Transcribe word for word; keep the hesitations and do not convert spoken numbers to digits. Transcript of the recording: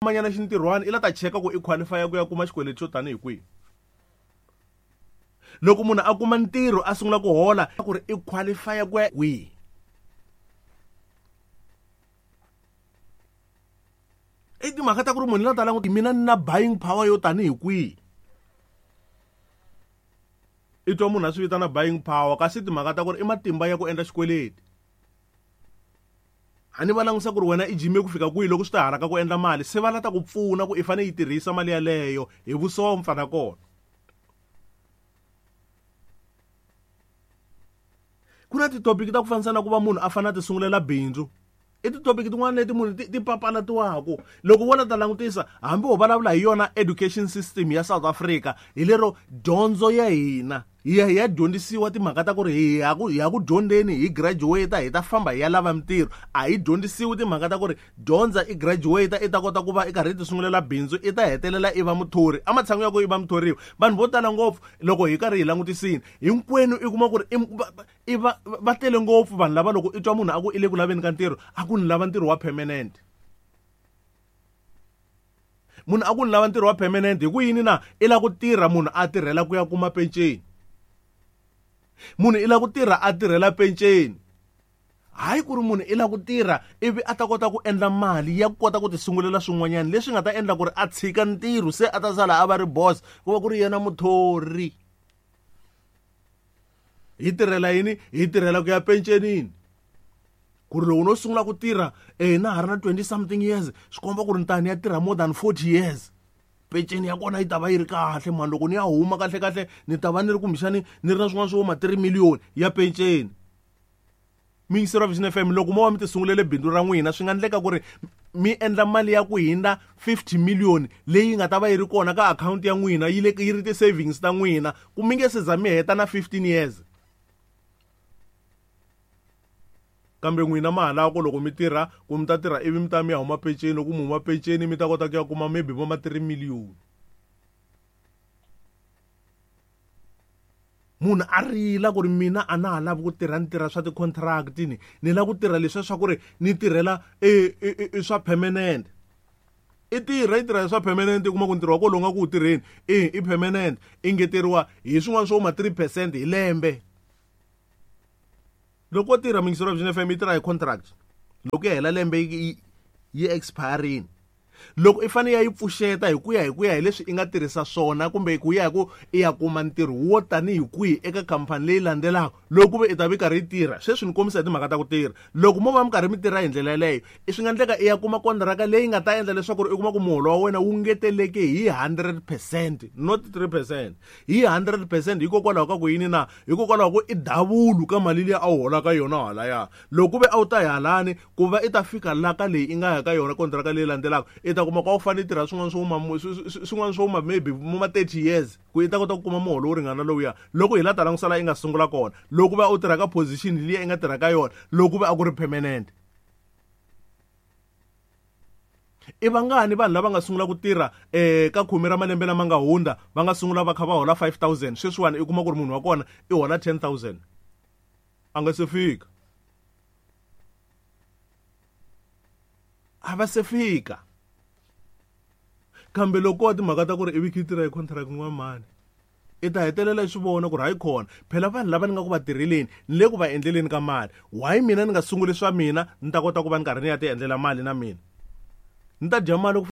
Manyana xintirhwani i la ta cheka ku i qualify ku ya kuma xikweleti xo tanihi kwihi. Loko munhu a kuma ntirho a sungula ku hola ku ri i qualify ku ya kwihi. I timhaka ta ku ri munhu la ta languta mina ni na buying power yo tanihi kwihi. I twa munhu a swi vitana buying power kasi timhaka ta ku ri i matimba ya ku endla xikweleti. A ni va langusa ku ri wena i jime ku fika kwihi loko swi ta hala ka ku endla mali, se va la ta ku pfuna ku i fanele yi tirhisa mali yaleyo hi vusompfa na kona. Ku na titopiki ta ku fanisa na ku va munhu a fanele a ti sungulela bindzu. I titopiki tin'wana leti munhu ti, ti papalatiwaka. Loko wo la ta langutisa hambi ho vulavula hi yona education system ya South Africa, hi lero dyondzo ya hina hi ya hi ya dyondzisiwa timhaka ta ku ri hi ya ku, hi ya ku dyondzeni, hi graduate hi ta famba hi ya lava mintirho. A hi dyondzisiwi timhaka ta ku ri dyondza i graduate i ta kota ku va i karhi i ti sungulela bindzu, i ta hetelela i va muthori. Ematshan'wini ya ku i va muthoriwa, vanhu vo tala ngopfu loko hi karhi hi langutisini hinkwenu i kuma ku ri i, va, i va, va tele ngopfu vanhu lava loko i twa munhu a ku i le ku laveni ka ntirho, a ku ni lava ntirho wa permanent. Munhu a ku ni lava ntirho wa permanent hi ku yini na? I lava ku tirha munhu a tirhela ku ya kuma penceni. Munhu i lava ku tirha a tirhela penceni. Hayi ku ri munhu i lava ku tirha ivi a ta kota ku endla mali ya ku kota ku ti sungulela swin'wanyana leswi nga ta endla ku ri a tshika ntirho se a ta sala a va ri boss, ku va ku ri yena muthori. Hi tirhela yini? Hi tirhela ku ya pencenini. Ku ri loko no sungula ku tirha, eh, na ha ri na twenty something years, swi komba ku ri ni ta ni ya tirha more than forty years. Penceni ya kona yi ta va yi ri kahle mani, loko ni ya huma kahle kahle ni ta va ni ri kumbexani ni ri na swin'wana swo ma three million ya penceni. Miyingiseri wa Vision F M, loko mo va mi ti sungulele bindzu ra n'wina, swi nga endleka ku ri mi endla mali ya ku hindza fifty million leyi nga ta va yi ri kona ka akhawunti ya n'wina, yi le yi ri ti-savings ta n'wina, ku mi nge se za mi heta na fifteen years. Kambe n'wina ma ha lava ku loko mi tirha, ku mi ta tirha ivi mi ta mi ya huma penceni, loko mi huma penceni mi ta kota ku ya kuma maybe vo ma three million. Munhu a rila ku ri mina a na ha lavi ku tirha, ni tirha swa ti-contract ni, ni lava ku tirha leswiya swa ku ri ni tirhela e, e, e, e swa permanent. I tirha, i tirha swa permanent, i kuma ku ntirho wa kona lowu nga ku wu tirheni, e, i permanent, i ngeteriwa hi swin'wana swo ma three percent hi lembe. Loko wo tirha Miyingiseri wa Vision F M yi tirha hi contract, loko ya hela lembe yi, yi, yi expire-ini. Loko i fanele ya yi pfuxeta hi ku ya hi ku ya hi leswi i nga tirhisa swona kumbe ku ya hi ku i ya kuma ntirho wo tanihi kwihi eka khampani leyi landzelaka, loko ku ve i ta va i karhi yi tirha. Sweswi ni kombisa hi timhaka ta ku tirha. Loko mo va mi karhi mi tirha hi ndlela yeleyo, i swi nga endleka i ya kuma kontraka leyi nga ta endla leswaku ri i kuma ku muholo wa wena wu ngeteleke hi hundred percent, not three percent, hi hundred percent. Hikokwalaho ka ku yini na? Hikokwalaho ku i davulu ka mali liya a wu holaka yona halaya. Loko ku ve a wu ta hi halani, ku va i ta fika la ka leyi i nga ya ka yona kontraka leyi landzelaka, i ta kuma ku a wu fanele i tirha swin'wana swo huma, swi, swi, swi, swin'wana swo huma maybe mo ma thirty years ku i ta kota ku kuma muholo wo ringana lowuya. Loko hi la ta langusa laha i nga sungula kona, loko va u tirha ka position liya i nga tirha ka yona, loko va a ku ri permanent. I vangani vanhu lava nga sungula ku tirha, eh, ka khume ra malembe lama nga hundza, va nga sungula va kha va hola five thousand, sweswiwani i kuma ku ri munhu wa kona i hola ten thousand, a nga se fika. A va se fika. Kambe loko wa timhaka ta ku ri ivi khi tirha hi contract n'wa mani, i ta hetelela i swi vona ku ri hayi khona phela vanhu lava ni nga ku va tirheleni ni le ku va endleleni ka mali, why mina ni nga sunguli swa mina ni ta kota ku va ni karhi ni ya ti endlela mali na mina ni ta dya mali ku